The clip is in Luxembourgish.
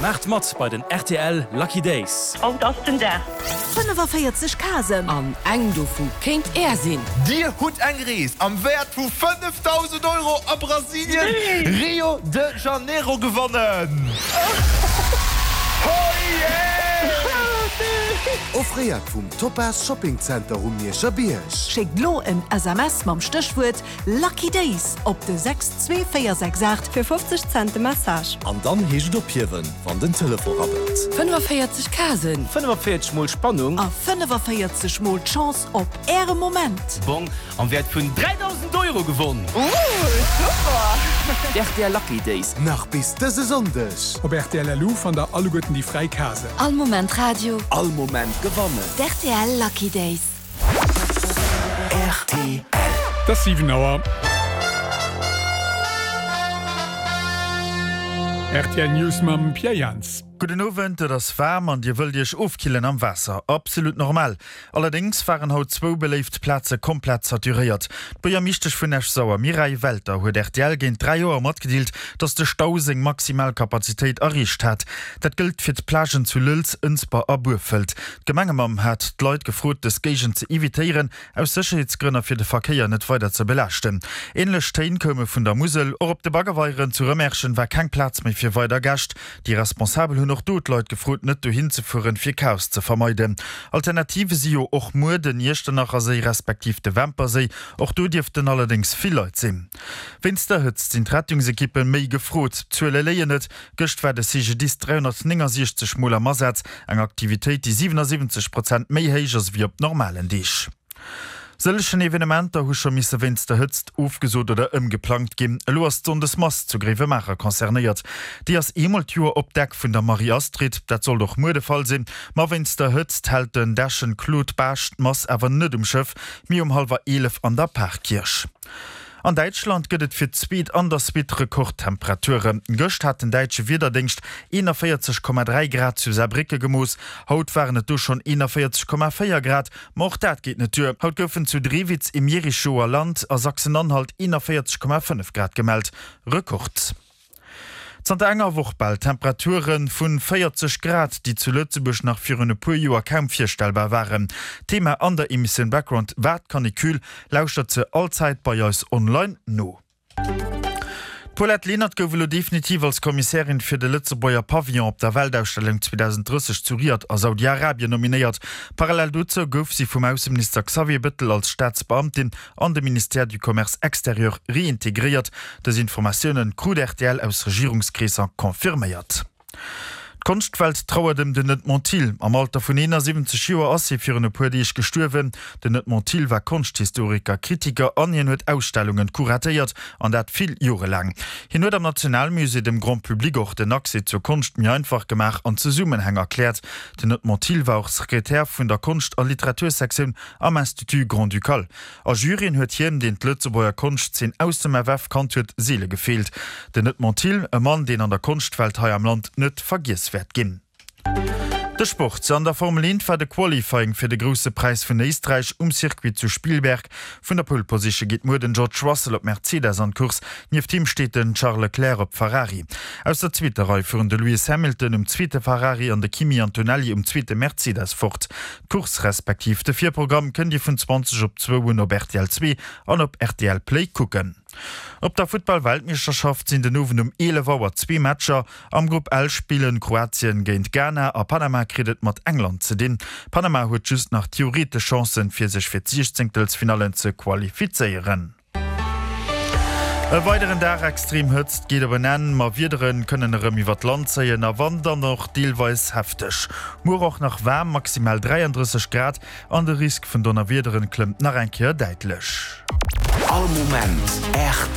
Maacht mat bei den rtl Lucky Days! Haut ass den Dag! 45 Casen. An eng dovu kéint Är sinn! Dir hutt eng Rees am Wäert vu 5.000 Euro a Brasilien, Rio de Janeiro gewonnen! Offréiert vum Topaz Shopping Center um Mierscher Bierg. Schéckt lo en SMS mam Stéchwuert Lucky Days op de 62468. Fir 50 Cent de Message. An dann heescht et ophiewen, wann den Telefon rabbelt. 45 Casen. 45 mol Spannung. A 45 mol d'Chance op Äre Moment. Bong am Wäert vun 3.000 Euro gewonn! Ooh, super! D'RTL Lucky Days. Nach bis dëse Sonndeg. Op rtl LU fannt der alleguerten déi fräi Casen. All Moment Radio. All Moment gewannen. D'RTL Lucky Days. Rtl. Et ass 7 Auer. Rtl News mam Pierre Jans. Gudden Owend, et ass waarm an dir wëllt iech ofkillen am Waasser. Absolut normal. Allerdéngs waren haut zwou beléift Plaze komplett saturéiert. D'Buergermeeschtesch vun Esch-Sauer Mireille Welter huet rtl géint 3 Auer matgedeelt, datt de Stau seng maximal Kapazitéit erreecht hat. Dat gëllt fir d'Plagen zu Lëlz, Ënsber a Burfelt. D'Gemengemamm hat d'Leit gefrot, dës Géigend ze evitéieren, aus Sécherheetsgrënn a fir de Verkéier net weider ze belaaschten. Änlech Téin koume vun der Musel. Och op de Baggerweieren zu Rëmerschen war keng Plaz méi fir weider Gäscht. Déi Responsabel hunn och do d'Leit gefrot, net dohin ze fueren, fir Chaos ze vermeiden. Alternative si jo och muer den Iechternacherséi respektiv de Wämperséi. Och do dierften allerdéngs vill Leit sinn. Wéinst der Hëtzt sinn d'Rettungsekippe méi gefrot. D'Zuele léien net. Gëscht war de CGDIS 369 Mol am Asaz, eng Aktivitéit, déi 77 Prozent méi héich ass ewéi op normalen Deeg. Sëllegen Evenementer hu scho misse wéinst der Hëtzt ofgesot oder ëmgeplangt ginn. Elo ass d'Sonndesmass zu Gréiwemaacher concernéiert. Déi ass eemol d'Joer op Deck vun der Marie-Astrid. Dat sollt och muer de Fall sinn. Ma wéinst der Hëtzt hält den Dechen Claude Baasch d'Mass awer net um Schëff, mee um hallwer 11 an der Parkierch. An Däitschland gëtt et fir d'zweet an der Suite Rekordtemperaturen. Gëscht hat den däitsche Wiederdéngscht 41,3 Grad zu Saarbrécke gemooss, haut waren et do schonn 41,4 Grad. Ma och dat geet net duer, haut goufen zu Drewitz im Jerichoer Land a Sachsen-Anhalt 41,5 Grad gemellt, Rekord. Zanter enger Woch bal Temperature vu 40 Grad, déi zu Lëtzebuerg nach virun e puer Joer kaum virstellbar waren. Thema an der Emissioun Background war d'Canicule. Lauschtert se all Zäit bei eis online no. D'Paulette Lenert gouf elo definitiv als Kommissärin fir de Lëtzebuerger Pavillon op der Weltausstellung 2030 zu Riad a Saudi-Arabien nominéiert. Parallel dozou gouf si vum Ausseminister Xavier Bettel als Staatsbeamtin an de Ministère du Commerce extérieur reintegréiert. Dës Informatiounen krut rtl aus Regierungskreesser confirméiert. D'Konschtwelt trauert ëm den Edmond Thill. Am Alter vun 71 Joer ass hie virun e puer Deeg gestuerwen. Den Edmond Thill war Konschthistoriker, Kritiker an hien huet Ausstellungen kuratéiert, an dat vill Jore laang. Hien huet am Nationalmusée dem Grand Public och den Accès zur Konscht méi einfach gemaach an Zesummenhäng erkläert. Den Edmond Thill war och Sekretär vun der Konscht a Literatursektioun am Institut Grand-Ducal. A Juryen huet hien, deen d'Lëtzebuerger Konschtzeen aus dem FF kannt huet, seele gefeelt. Den Edmond Thill, e Mann, deen an der Konschtwelt hei am Land net vergiess wäert ginn. De Sport, An der Formel 1 war de Qualifying fir de Grousse Präis vun Éisträich um Circuit zu Spielberg. Vun der Pole Position geet muer den George Russell op Mercedes an d'Course. Nieft him steet den Charles Leclerc op Ferrari. Aus der zweeter Rei fueren de Lewis Hamilton um zweete Ferrari an de Kimi Antonelli um zweete Mercedes fort. D'Course respektiv de Virprogramm kënnt Dir vun 20 op zwou un op rtl 2 an op rtl Play kucken. Op der Futtball-Weltmeeschterschaft sinn den Owend um 11 Auer zwee Matcher. Am Grupp L spillen Kroatien géint Ghana a Panama kritt et mat England ze dinn. Panama huet just nach theoretesch Chancen, fir sech fir d'Siechzéngtelsfinallen ze qualifizéieren. E weideren Dag extrem Hëtzt geet op en Enn, ma Wiedere kënnen erëm iwwer d'Land zéien a wann dann och deelweis hefteg. Muer och nach waarm, maximal 33 Grad an de Risk vun Donnerwiederen klëmmt nach eng Kéier däitlech. All Moment rtl.